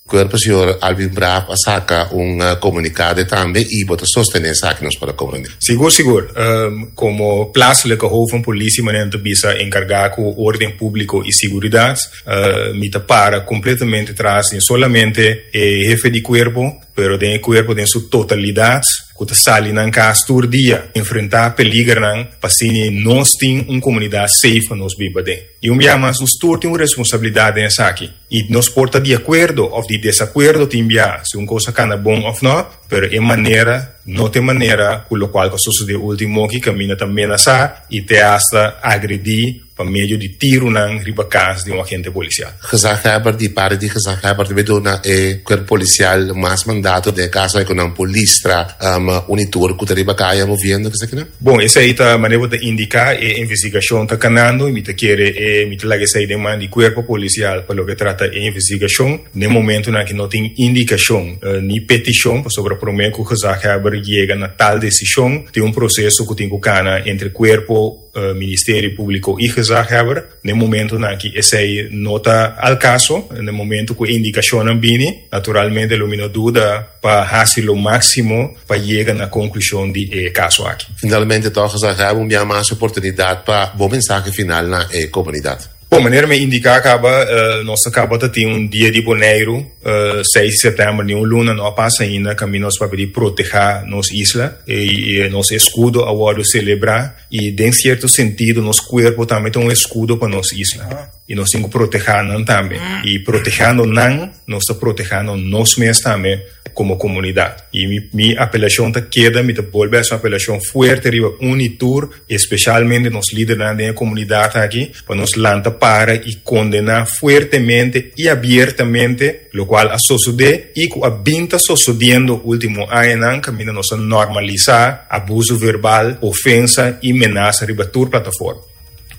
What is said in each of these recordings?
Cuerpo señor Alvin Braaf a saca un comunicado tambe y bo ta sostene esaki nos por a comprende. Sigur sigur. Como plaatselijke hoofd van politie manera nan ta bisa encarga cu orden publico y siguridad mi ta para completamente tras di solamente e hefe di cuerpo pero den e cuerpo den su totalidad cu ta sali nan cas tur dia enfrenta peligernan pa asina nos tin un comunidad safe pa nos biba den. Y un bia mas nos tur tin un responsabilidad den esaki. I nos por ta di akuerdo òf di desakuerdo tin bia si un kos a kana bon òf nò, pero e manera no ta e manera ku lokual ku a sosodé último ki kaminda ta menasá i te asta agredí pa medio di tirunan riba kas di un agente polisial. Gezaghebber di parti di Gezaghebber debe duna e kuerpo polisial mas mandato den e kaso ei ku nan por listra un i tur ku ta riba kaya moviendo kesakinan. Bon, esei ta manera bo ta indiká, e investigashon ta kanando i mi ta kere e mi ta laga esei den man di kuerpo polisial pa loke trata e investigashon. Den momentunan aki no tin indikashon ni petishon pasobra promé ku gezaghebber yega na tal desishon tin un proseso ku tin ku kana entre kuerpo, Ministerio Públiko i gezaghebber. Den momentunan aki esei no ta al kaso. Den momentu ku e indikashonnan bini, naturalmente lo mi no duda pa hasi lo máksimo pa yega na konklushon di e kaso aki. Finalmente tòg gezaghebber un bia mas oportunidat pa bo mensahe final na e komunidat. Bon, manera mi a indiká kaba, nos ta kaba ta tin un Dia di Boneiru, seis di sèptèmber, ni un luna no a pasa ainda, kaminda nos papia di protehá nos isla i nos eskudo a wòrdu selebrá. I den sierto sentido nos kuerpo tambe ta un eskudo pa nos isla. I nos tin ku protehá nan tambe. I protehando nan, nos ta protehando nos mes tambe komo komunidat. I mi mi apelashon ta keda, mi ta bolbe hasi un apelashon fuerte riba un i tur, espeshalmente nos lidernan den e komunidat aki, pa nos lanta para i kondená fuertemente i abiertamente lokual a sosodé i ku a bin ta sosodiendo último añanan kaminda nos a normalisá abuso verbal, ofensa i menasa riba tur plataforma.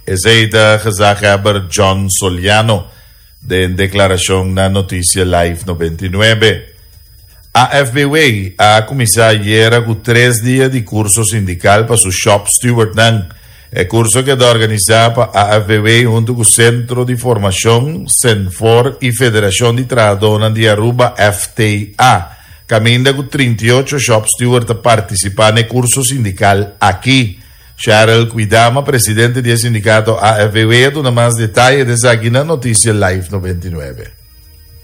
Esei ta gezaghebber John Soliano den deklarashon na Noticia Live 99. AFBW a kuminsá ayera ku tres dia di kurso sindikal pa su shop stewardnan. E kurso keda organisá pa AFBW huntu ku Sentro di Formashon, Senfor, i Federashon di Trahadónan di Aruba, FTA, kaminda ku 38 shop steward ta partisipá na e kurso sindikal aki. Cheryl Kwidama, presidente di e sindikato AFBW, a duna mas detaye di esaki na Noticia Live 99.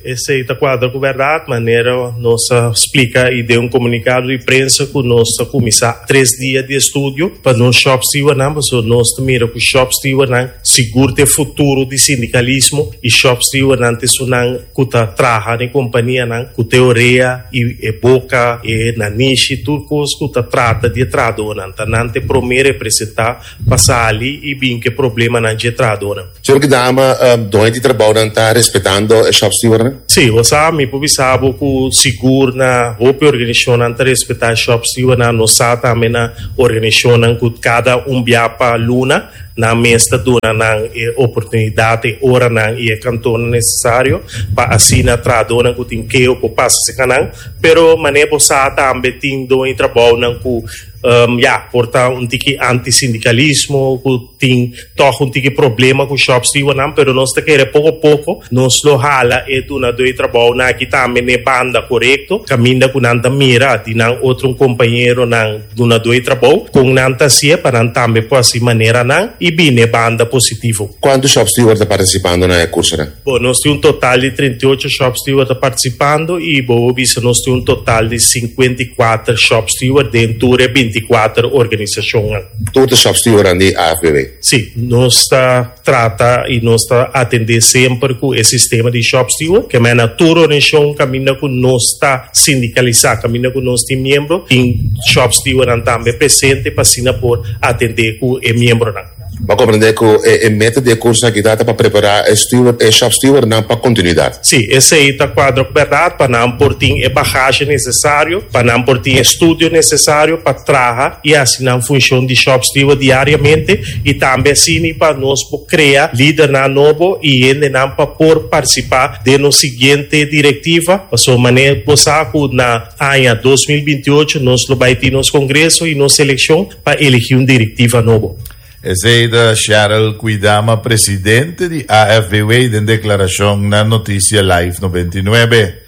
Esei ta kuadra ku bèrdat, manera nos a splika i den un komunikado di prensa ku nos ta kuminsá tres dia di estudio pa nos shòpstewardnan, pasobra nos ta mira ku shòpstewardnan sigur ta e futuro di sindikalismo i shòpstewardnan ta esunnan ku ta traha den kompanianan ku ta e orea i e boka, e nanishi, tur kos ku ta trata di e trahadónan. Ta nan ta e promé representá pa sali i bin ku e problemanan dje trahadónan. Señor Gdama, doño di trabounan ta respetando e shop stewardnan? Sí, bo sa, mi por bisa bo ku sigur na hopi organisashonnan ta respetá e shop stewardnan. Nos sa tambe na organisashonnan ku kada un bia pa luna nan mes ta duna nan e oportunidat, e oranan i e kantornan nesesario pa asina trahadónan ku tin keo por pasa serka nan. Pero manera bo sa tambe tin doño di trabounan ku ya por ta un tiki anti-sindikalismo ku tin tòg un tiki problema ku shop stewardnan, pero nos ta kere poko poko nos lo hala e dunadó di trabounan aki tambe n'e banda korekto, kaminda ku nan ta mira di nan otro un kompañeronan dunadó di trabou kon nan ta hasié pa nan tambe por hasi manera nan i bini n'e banda positivo. Kuantu shop steward ta partisipando na e kursonan? Bo, nos tin un total di 38 shop steward ta participando y bo bo bisa nos tin un total di 54 shop steward den tur e 24 organisacionnan. Tur ta shop stewardnan di AFBW? Si, nos ta trata y nos ta atende semper cu e sistema di shop steward, ke mena tur organisacion caminda cu nos ta sindicalisa, caminda cu nos tin miembro, tin shop stewardnan tambe presente pa asina por atende cu e miembronan. Bo a comprende cu e meta di e curso aki ta pa prepara e steward, e shop stewardnan pa continuidad. Sí, esey ta cuadra cu berdad pa nan por tin e bagahe necesario, pa nan por tin e studio necesario pa traha y haci nan funcion di shop steward diariamente y tambe asini pa nos por crea lidernan nobo y hendenan pa por participa den nos siguiente directiva, pasobra manera bo sa cu na aña 2028 nos lo bay tin nos congreso y nos seleccion. Pa elegi un directiva nobo. Esey ta Cheryl Kwidama, presidente di AFBW den declaracion na Noticia Live 99.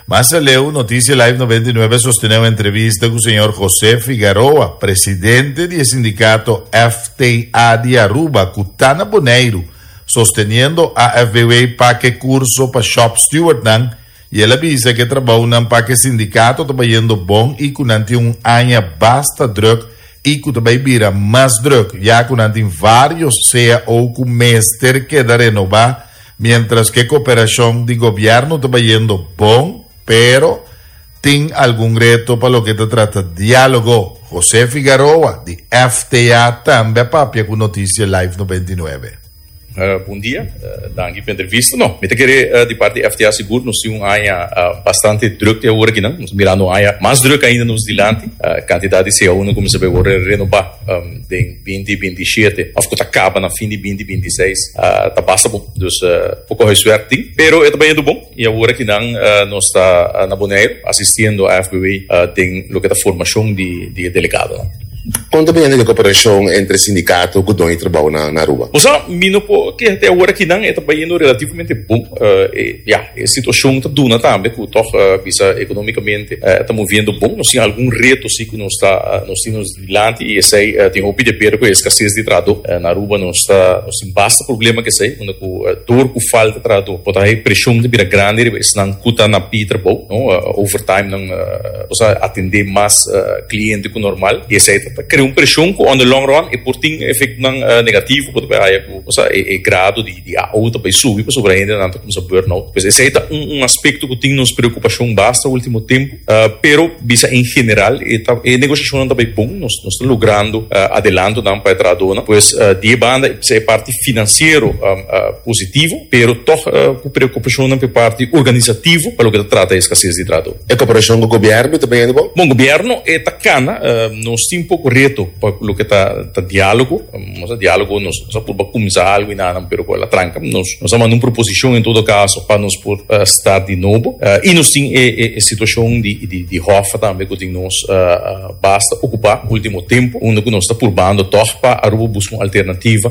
Mas aleu, Noticia Live 99 a sostené un entrevista ku señor José Figaroa, presidente di e sindikato FTA di Aruba ku ta na Boneiru, sosteniendo AFBW pa ku e kurso pa shop stewardnan i el a bisa ku e trabounan pa ku e sindikato ta bayendo bon i ku nan tin un aña basta druk i ku ta bai bira mas druk ya ku nan tin vários cao ku mester keda renobá. Mientras ku e koperashon di gobièrnu ta bayendo bon, pero tin algun reto pa loke ta trata diálogo. José Figaroa di FTA tambe a papia ku Noticia Live 99. Bon dia, danki pa entrevista. No, mi ta kere di parti FTA sigur nos tin un aña bastante druk te awor akinan. Nos ta mirando un aña mas druk ainda nos dilanti. Kantidat di CAO nan kuminsá bai wòrdu renobá. Den binti binti shete of ku ta kaba na fin di binti binti seis ta basta bon. Dus poko huiswerk tin, pero e ta bayendo bon i awor akinan nos ta na Boneiru asistiendo AFBW den loke ta formashon di e delegadonan. Kon ta bayendo e koperashon entre sindikato ku doño di trabou na Aruba? Bo sa, mi no por keha te awor akinan e ta bayendo relativamente bon. E ya, e situashon ta duna tambe ku tòg bisa ekonomikamente e ta moviendo bon. Nos tin algun reto si ku nos ta nos tin nos. Dilanti i esei tin hopi di aber ku e eskases di trahadó. Na Aruba nos ta nos tin basta problema ku esei, unda ku dor ku falta trahadó por ta hay preshon ta bira grandi riba esnan ku ta na pie trabou, no, overtime nan nos a atendé mas kliente ku normal i esei ta krea un preshon ku on the long run e por tin efektonan negativo ku ta bai haya ku osea e grado di di AO ta bai subi pasobra hendenan ta kuminsá burnout. Pues esei ta un un aspekto ku tin nos preokupashon basta ultimo tempu. Pero bisa en general e ta e negosiashonnan ta bai bon, nos nos ta logrando adelantonan pa e trahadónan. Pues di e banda e parti finansiero positivo, pero tòg ku preokupashonnan pa e parti organisativo pa loke ta trata e eskases di trahadó. E koperashon ku gobièrnu ta bayendo bon? Bon, gobièrnu e ta kana. Nos tin poko reto pa loke ta ta diálogo. Nos a diálogo, nos a purba kuminsá algu i nan, pero ku el a tranka. Nos a manda un proposishon en todo kaso pa nos por start di nobo. I nos tin e situashon di Hoffa tambe ku tin nos basta okupá último tempu, unda ku nos ta purbando tòg pa Aruba buska un alternativa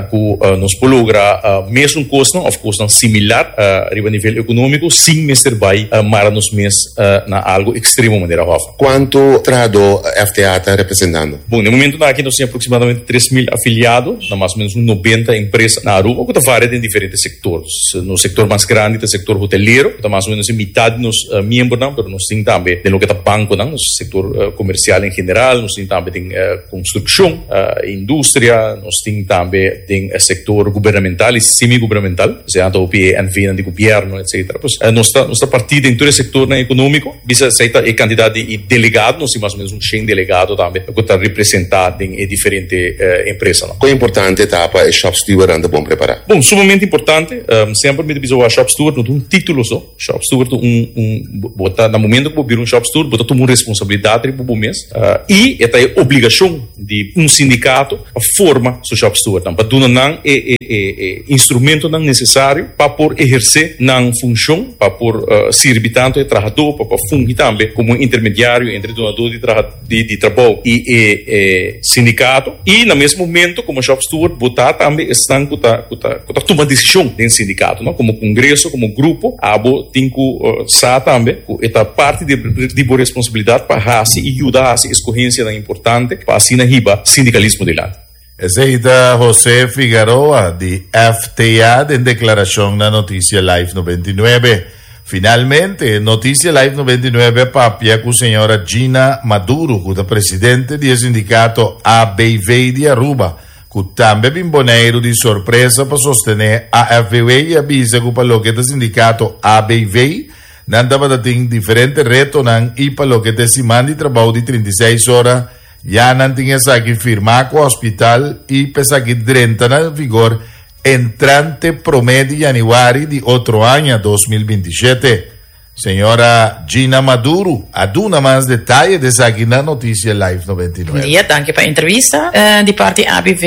ku nos por logra mesun kosnan òf kosnan similar riba nivel ekonómiko sin mester bai mara nos mes na algu ekstremo manera Hoffa. Kuantu trahadó FTA ta representando? Bon, na e momentunan aki nos tin aproximadamente 3.000 afiliado na mas o menos un 90 empresa na Aruba ku ta varia den diferente sektor. Nos sektor mas grandi ta e sektor hotelero, ku ta mas o menos e mitad di nos miembronan, pero nos tin tambe den loke ta bankonan, nos sektor komersial en general, nos tin tambe den konstrukshon, industria, nos tin tambe den e sektor gubernamental i semi-gubernamental, osea ta hopi e NVnan di gobièrnu, etcetera. Pues nos ta nos ta partí den tur e sektornan ekonómiko. Bisa esei ta e kantidat di delegado, nos tin mas o menos un shen delegado tambe ku ta representá den e diferente empresanan. Kon importante ta pa e shop stewardnan ta bon prepará? Bon, sumamente importante. Semper mi ta bisa wak shop steward no ta un título so. Shop steward ta un, un, bo ta, na momento ku bo bira un shop steward bo ta tuma un responsabilidat riba bo mes i e ta e obligashon di un sindikato pa forma su shop stewardnan, pa duna nan e e instrumentonan nesesario pa por ehersé nan funshon, pa por sirbi tantu e trahadó, pa por fungi tambe komo un intermediario entre e dunadó di traha di trabou i e e sindikato. I na mes momento komo shop steward bo ta tambe esnan ku ta ku ta ku ta tuma desishon den sindikato, no? Komo kongreso, komo grupo abo tin ku sa tambe ku e ta parti di di bo responsabilidat pa hasi i yuda hasi eskohensianan importante pa asina hiba sindikalismo dilanti. Esei ta José Figaroa di FTA den deklarashon na Noticia Live 99. Finalmente, Noticia Live 99 a papia ku señora Gina Maduro ku ta presidente di e sindikato ABV di Aruba ku tambe bin Boneiru di sorpresa pa sostené AFBW i a bisa ku pa loke ta sindikato ABV nan tabata tin diferente retonan i pa loke ta e siman di trabou di 36 ora Ya nan tin esaki firmá ku hospital i pa esaki drenta na vigor entrante promé di yanüari di otro aña 2027. Señora Gina Maduro a duna mas detaye di esaki na Noticia Live 99. Bon dia, danki pa entrevista. Di parti ABV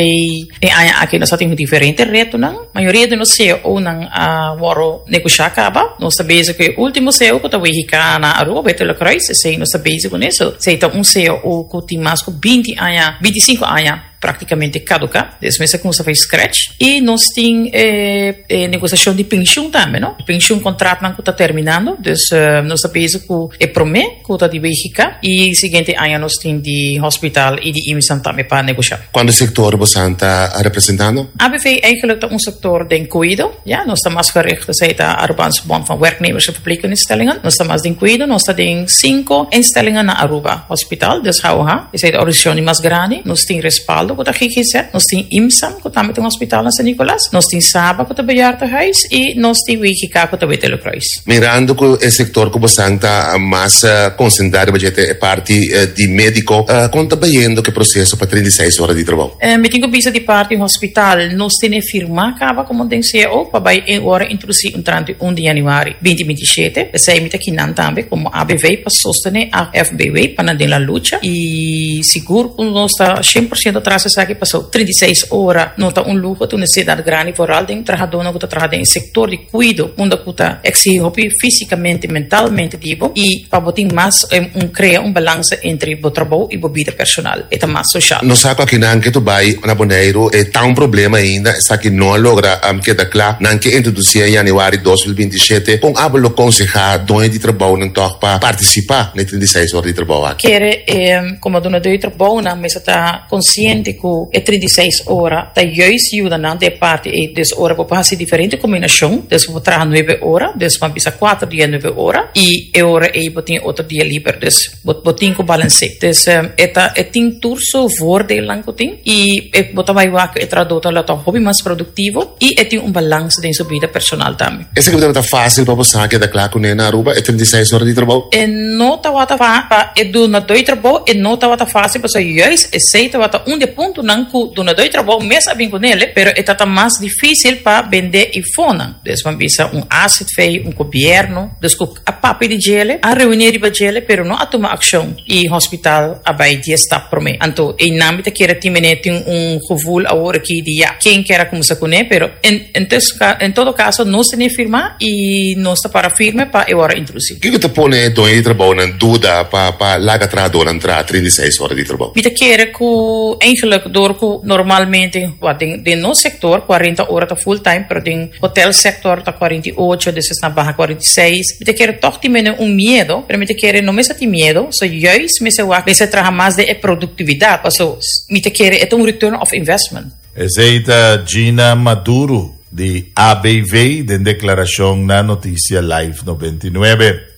e aña aki nos a tin diferente retonan. Mayoria di nos CEOnan a wòrdu negoshá kaba. Nos ta bezig ku e último CEO ku ta WGK na Aruba, Beto Kruis. Esei nos ta bezig kuné. So, esei ta un CEO ku tin mas ku binti aña, binti sinku aña. práktikamente kaduká. Dus mester kuminsá for scratch. I nos tin e e negosiashon di penshun tambe, no? Penshun kontratnan ku ta terminando. Dus nos ta bezig ku e promé ku ta di WGK i siguiente aña nos tin di hospital i di IMSAN tambe pa negoshá. Kuantu sektor bosan ta representando? ABV eigenlijk ta un sektor den kuido, ya. Nos ta mas gericht, esei ta Arubaanse Bond van Werknemers en Verpleegkunde-instellingen. Nos ta mas den kuido, nos ta den sinku instellingen na Aruba. Hospital, dus HOH, esei ta organisashon di mas grandi. Nos tin Respaldo ku ta GGZ, nos tin IMSAM ku tambe ta un hospital na San Nicolas, nos tin Saba ku ta bejaardenhuis i nos tin WGK ku ta Witte Kruis. Mirando ku e sektor ku bosan ta mas konsentrá riba dje ta e parti di médiko, kon ta bayendo ku e proseso pa 36 ora di trabou? Mi tin ku bisa di parti hospital nos tene firmá kaba komo den cao pa bai e ora introdusí entrante un di yanüari binti 27. P'esei mi ta kinan tambe komo ABV pa sostené AFBW pa nan den la lucha i sigur ku nos ta 100% tras esaki pasobra 36 ora no ta un luho, ta un nesesidat grandi foral den trahadónan ku ta traha den e sektor di kuido unda ku ta eksihí hopi físikamente, mentalmente di bo i pa bo tin mas un krea un balansa entre bo trabou i bo bida personal. E ta mas soshal. Nos sa ku akinan ke tu bai na Boneiru e ta un problema ainda, esaki no a logra keda kla. Nan ke introdusí en yanüari 2027. Kon abo lo konsehá doño di trabounan tòg pa partisipá na e 36 ora di trabou aki? Kere e komo dunadó di trabounan mester ta konsiente ku e 36 ora ta juist yuda nan den e parti ei. Dus ora bo por hasi diferente kombinashon, dus bo por traha nuebe ora, dus bo a bisa kuater dia nuebe ora i e ora ei bo tin e otro dia liber. Dus bo bo tin ku balans'é. Dus e ta e tin tur su voordeelnan ku tin i e bo ta bai wak ku e trahadó ta lo ta hopi mas produktivo i e tin un balans den su bida personal tambe. Esaki bo tabata fásil pa bo sa keda kla kuné na Aruba e 36 ora di trabou? E no tabata fa pa e dunadó di trabou e no tabata fásil pasobra juist esei tabata un di e puntonan ku dunadó di trabou mes a bin kunele pero e tabata mas difísil pa bendé i fonan. Dus bo a bisa un azv, un gobièrnu, dus ku a papia di djele, a reuní riba djele pero no a tuma akshon i hospital a bai dies stap promé. Anto einan mi ta kere tin mene tin un gevoel awor aki di ya, ken kier a kuminsá kuné pero en en todo kaso nos tene firmá i nos ta para firme pa e wòrdu introdusí. Kiko ta pone e doño di trabounan duda pa pa laga trahadónan traha 36 ora di trabou? Mi ta kere ku eigenlijk dor ku normalmente den den nos sektor 40 ora ta full time pero den Hotel sector ta 48, despues nan baha 46. Mi ta kere toch tin mene un miedo, pero mi ta kere no mester tin miedo, so juist mester wak, mester traha mas den e productividad, paso mi ta kere e ta un return of investment. Esei ta Gina Maduro di ABV den deklarashon na Noticia Live 99.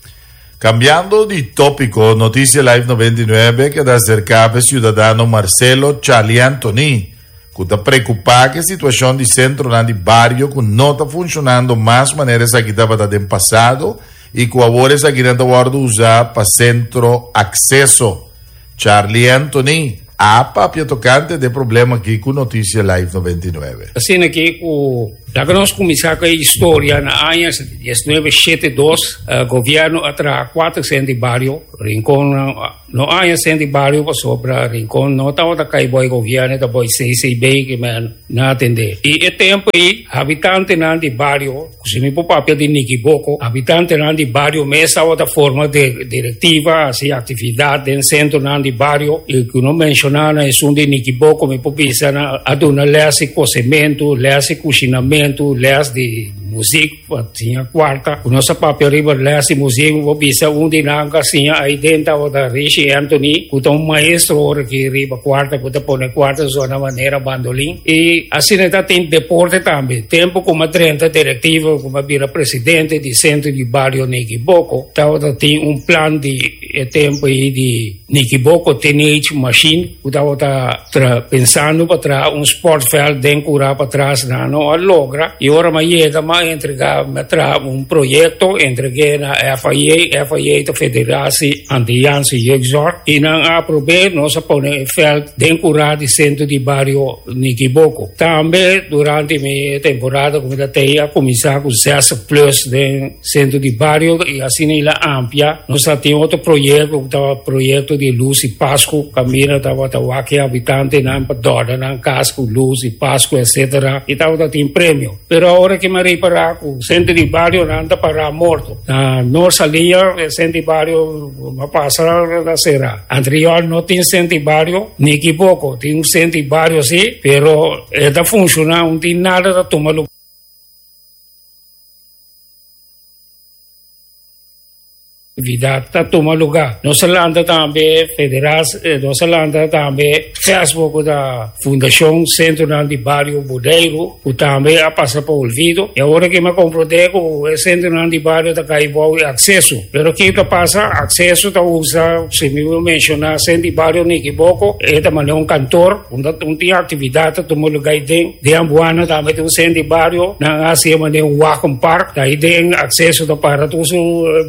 Kambiando di tópiko, Noticia Live 99 keda aserká pa e siudadano Marcelo Charlie Anthony, ku ta preokupá ku e situashon di sentronan di bario ku no ta funshonando mas manera esaki tabata den pasado i ku awor esakinan ta wòrdu usá pa sentro akseso. Charlie Anthony a papia tokante di e problema aki ku Noticia Live 99. Asina ki ku laga nos kuminsá ku e historia na aña 1972 gobièrnu a traha kuater sentro di bario Rincon. No aña sent di bario pasobra Rincon no tabata kai boi gobierno ta boi CCB ki men na atende. I e tempo ei habitantenan di bario, ku si mi por papia di Nikiboko, habitantenan di bario mes tabata forma direktiva, hasi aktividat den sentronan di bario i ku no menshona na esun di Nikiboko mi por bisa nan a duna les di kosementu, les di kushinamentu, les di muzik. Pa siña kuarta ku nos a papia riba les di musik bo bisa un di nan ku a siña ai den tabata Rishi Anthony ku ta un maestro ora aki riba kuarta ku ta pone kuarta zona manera bandolin i asina ta tin deporte tambe tempu ku mi a drenta direktiva ku mi a bira presidente di sentro di bario Nikiboko tabata tin un plan di e tempu ei di Nikiboko Teenage Machine ku tabata tra pensando pa traha un sportveld den kura patras nan no a logra i ora mi a yega mi a entrega mi a traha un proyekto entreg'é na FIA, FIA ta Federatie Antilliaanse Jeugdzorg i nan a aprob'é nos a pone e veld den kura di sentro di bario Nikiboko. Tambe durante mi temporada ku mi ta tei a kuminsá ku zestig plus den Sentro di bario i asina i la amplia. Nos ta tin otro proyekto ku tabata proyekto di lus di Pasku. Kaminda tabata wak e habitantenan pa dòrda nan kas ku lus di Pasku etsetera i tabata tin premio. Pero awor ke mi a ripará. ripará ku sentro di barionan ta pará morto. Na Noord Saliña e sentro di bario a pasa ta será. Antriol no tin sentro di bario, ni Kiboko tin un sentro di bario si, pero e ta funshoná, no tin nada ta tuma lugar. Actividad ta tuma lugar. Nos a lanta tambe federal, nos a lanta tambe FESBO cu ta Fundacion Centronan di Bario Boneiru cu tambe a pasa pa olvido. Y awor aki mi a comprende cu e centronan di bario ta cay bou e acceso. Pero kico ta pasa? Acceso ta usa, si mi por menciona Centro di Bario Nikiboko, e ta manda un kantoor unda un tin actividad ta tuma lugar ahi den. Den Ambuana tambe tin un centro di bario, nan a haci e manera un wagenpark, ta ahi den acceso ta para tur su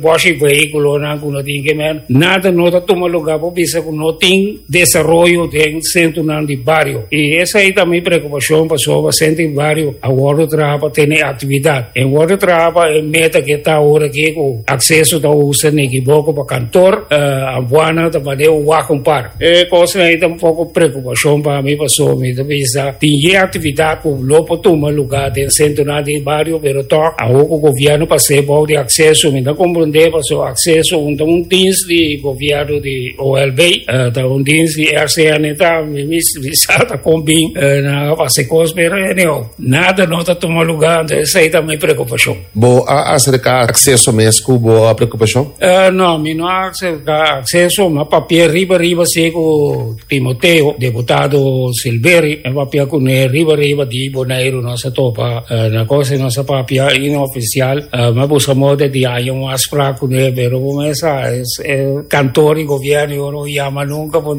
boshi vehiculonan cu no tin ke men. Nada no ta tuma lugar por bisa cu no tin desaroyo den centronan di bario. Y esey ta mi preocupacion pasobra centro di bario a wordo traha pa tene actividad. E wordo traha pa e meta ke ta awor aki cu acceso ta usa Nikiboko pa kantoor, Ambuana ta manera un wagenpark. E kosnan ei ta un poko preokupashon pa mi pasobra mi ta bisa tin ye aktividat ku lo por tuma lugá den sentronan di bario pero tòg awor ku gobièrnu pas'é bou di akseso mi ta komprondé pasobra akseso un ta un dins di gobièrnu di OLB ta un dins di RCN ta mi mi sa ta kon bin nan a fasi kos pero anyhow nada no ta tuma lugá anto esei ta mi preokupashon. Bo a aserká akseso mes ku bo preokupashon? No, mi no a aserká akseso. Mi a papia riba riba si ku Timoteo, deputado Silveri. Mi a papia kuné riba riba di Boneiru. Nos a topa na kos i nos a papia inofisial. Mi a buska moda di haña un afsprak kuné, pero bo mes sa, e kantor di gobièrnu yo no yama nunka. Bo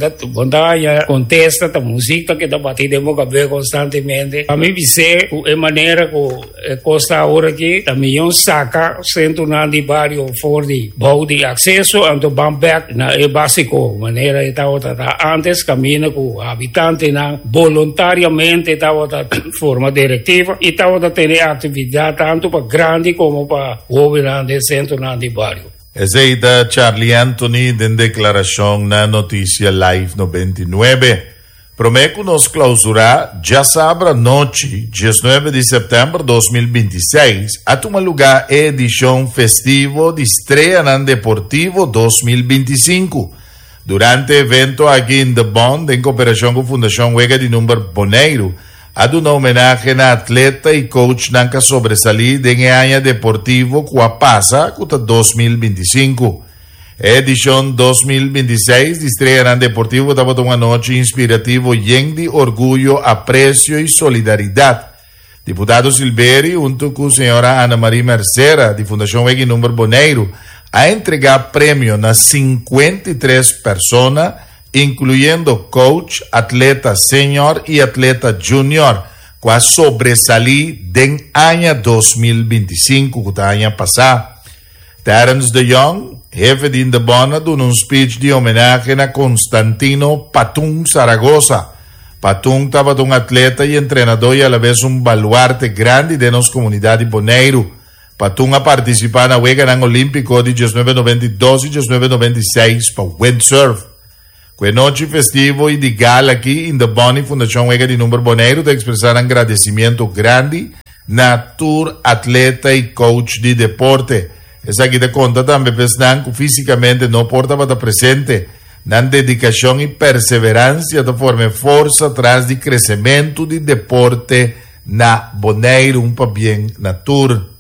ta haña kontesta, ta muzik ta keda bati den bo kabes konstantemente. Pa mi bis'é ku e manera ku. E kos ta awor aki ta miyon saka sentronan di bario for di bou di akseso anto ban bek na e basiko manera e tabata ta antes kaminda ku habitantenan boluntariamente tabata forma direktiva i tabata tene aktividat tantu pa grandi komo pa hobennan den sentronan di bario. Esei ta Charlie Anthony den deklarashon na Noticia Live 99. Promé ku nos klausurá, djasabra nochi, diesnuebe di sèptèmber 2026, a tuma lugá e edishon festivo di Streanan Deportivo 2025. Durante e evento aki Indebon, den koperashon ku Fundashon Wega di Number Boneiru, a duna homenahe na atleta i coachnan ku a sobresalí den e aña deportivo ku a pasa, ku ta 2025. E edishon 2026 di Streanan Deportivo tabata un anochi inspirativo yen di orguyo, apresio i solidaridat. Diputado Silveri huntu ku señora Ana Marie Mercera di Fundashon Wega i Number Boneiru a entregá premio na 53 persona, inkluyendo coach, atleta senior i atleta junior ku a sobresalí den aña 2025 ku ta aña pasá. Terence de Jong, hefe di Indebon a duna un speech di homenahe na Constantino Patun Zaragoza. Patun tabata un atleta y entrenador y alabes un baluarte grandi den nos comunidad di Boneiru. Patun a participa na Weganan Olimpico di 1992 y 1996 pa windsurf. Ku e nochi festivo y di gala aki, Indebon y Fundacion Wega di Number Boneiru ta expresa nan gradecimiento grandi na tur atleta y coach di deporte. Esaki ta conta tambe pa esnan cu fisicamente no por tabata presente. Nan dedicacion y perseverancia ta forma e forsa tras di crecemento di deporte na Boneiru. Un pabien na tur.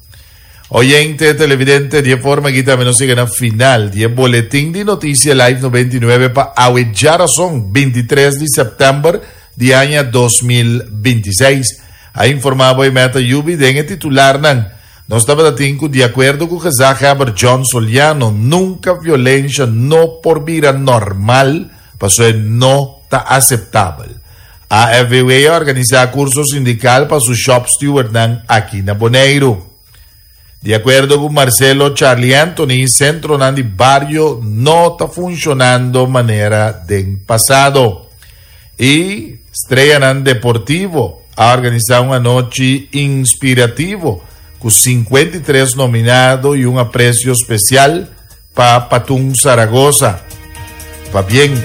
Oyente, televidente, di e forma aki tambe nos yega na final di e boletin di Noticia Live 99 pa awe djarason, 23 di sèptèmber di aña 2026. A informá bo e meta yubi den e titularnan. Nos tabata tin ku di akuerdo ku gezaghebber John Soliano nunka violensha no por bira normal pasobra e no ta aseptabel. AFVW a organisá kurso sindikal pa su shop stewardnan aki na Boneiru. Di akuerdo ku Marcelo Charlie Anthony, sentronan di bario no ta funshonando manera den pasado. I Streanan Deportivo a organisá un anochi inspirativo ku 53 nominado i un apresio spesial pa Patun Zaragoza. Pabien!